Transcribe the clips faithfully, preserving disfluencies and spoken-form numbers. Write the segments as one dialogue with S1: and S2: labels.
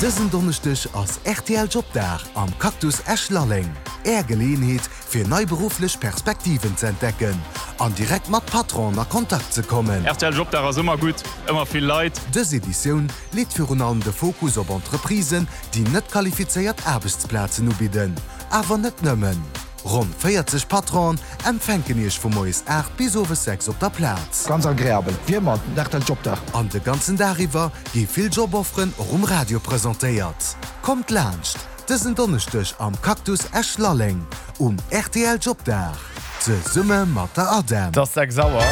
S1: Dësen Donneschdeg ass rtl Jobdag am Cactus Esch-Lalleng. Är Geleeënheet fir nei berufflech Perspektiven ze entdecken an direkt mat Patronen a Kontakt ze kommen.
S2: Rtl Jobdag ass ëmmer gutt, ëmmer vill Leit.
S1: Dës Editioun leet virun allem de Fokus op Entreprisen, déi net qualifizéiert Aarbechtsplazen ubidden. Awer net nëmmen. Ronn véierzeg Patronen empfänken Iech vu moies aacht bis owes sechs op der Plaz.
S3: Ganz agreabel, wéi ëmmer den rtl Jobdag.
S1: An de ganzen Dag iwwer gi vill Jobofferen och um Radio presentéiert. Kommt laanscht dësen Donneschdeg am Cactus Esch-Lalleng um rtl Jobdag, zesumme mat der ADEM.
S4: Et ass sechs Auer.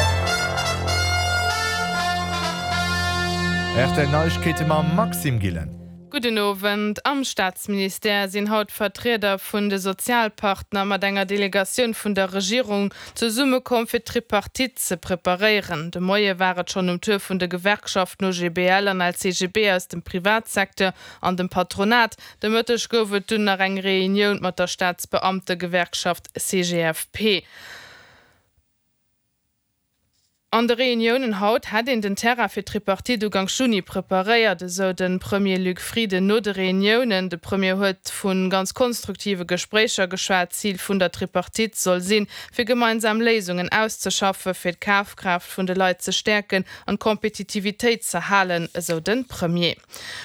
S4: Rtl Neiegkeete mam Maxime Gillen.
S5: Gudden Owend. Am Staatsministère sinn haut Vertrieder vun de Sozialpartner mat enger Delegatioun vun der Regierung zesummekomm fir d'Tripartite ze preparéieren. De Moie war et schonn um Tour vun de Gewerkschaften O G B L an L C G B aus dem Privatsecteur an dem Patronat. De Mëtteg gouf et dunn nach eng Reunioun mat der Staatsbeamtegewerkschaft C G F P. An de Reuniounen haut hätt een den Terrain fir d'Tripartite Ugank Juni preparéiert, esou de Premier Luc Frieden no de Reuniounen. De Premier huet vu ganz konstruktive Gespréicher geschwat. Zil vun der Tripartite soll sinn, fir gemeinsam Léisungen auszeschaffen, fir d'Kafkraaft vun de Leit ze stäerken an d'Kompetitivitéit ze halen, esou de Premier.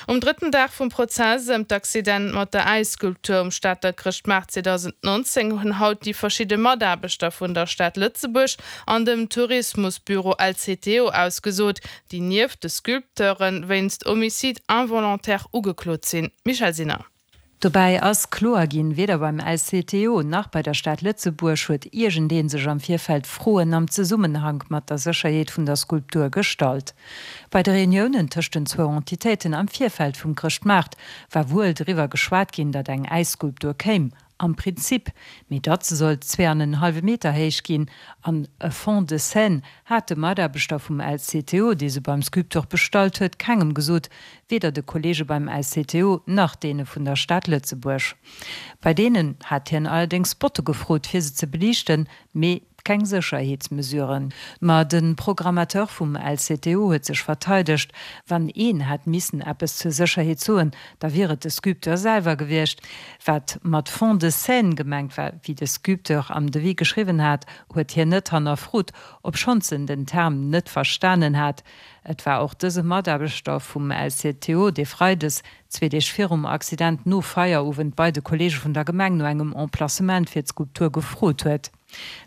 S5: Um drëtten Dag vum Prozess ëm d'Accident mat der Äisskulptur um Stater Chrëschtmaart zweedausendnonzéng hunn haut déi verschidde Mataarbechter vun der Stad Lëtzebuerg an dem Tourismusbüro L C T O ausgesot, déi nieft de Sculpteure wéinst Homicide involontaire ugeklot sinn. Michèle Sinner.
S6: Dobäi ass kloer ginn, Weder beim L C T O nach bei der Stad Lëtzebuerg huet iergendee sech am Virfeld Froen am Zesummenhank mat der Sécherheet vun der Skulptur gestallt. Bei de Reuniounen tëscht den zwou Entitéiten am Virfeld vum Chrëschtmaart war wuel driwwer geschwat ginn, datt eng Äisskulptur kéim, am Prinzip, mee datt se sollt zwee an en hallwe Meter héich ginn an e Fond de scène, hat de Mataarbechter vum L C T O, dee se beim Sculpteur bestallt huet, kengem gesot, weder de Kolleege beim L C T O nach deene vun der Stad Lëtzebuerg. Bei deenen hat hien allerdéngs Spotte gefrot, fir se ze beliichten, mee keng Sécherheetsmesuren. Ma de Programmateur vum L C T O huet sech verteidegt, Wann een hätt missen eppes zur Sécherheet soen, da wier et de Sculpteur selwer gewiescht. Wat mat Fond de scène gemengt war, wéi de Sculpteur am Devis geschriwwen hat, huet hien net hannerfrot, obschonns en den Term net verstanen hat. Et war och dëse Mataarbechter vum L C T O, dee freides, zwee Deeg virum Accident, no Feierowend bei de Kolleege vun der Gemeng no engem Emplacement fir d'Skulptur gefrot huet.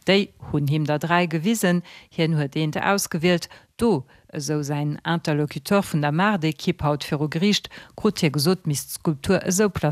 S6: Déi hunn him der dräi gewisen, hien huet eent ausgewielt. Do, esou säin Interlocuteur vun der Maartekipp haut viru Geriicht, krut hie gesot, misst d'Skulptur esou placéiert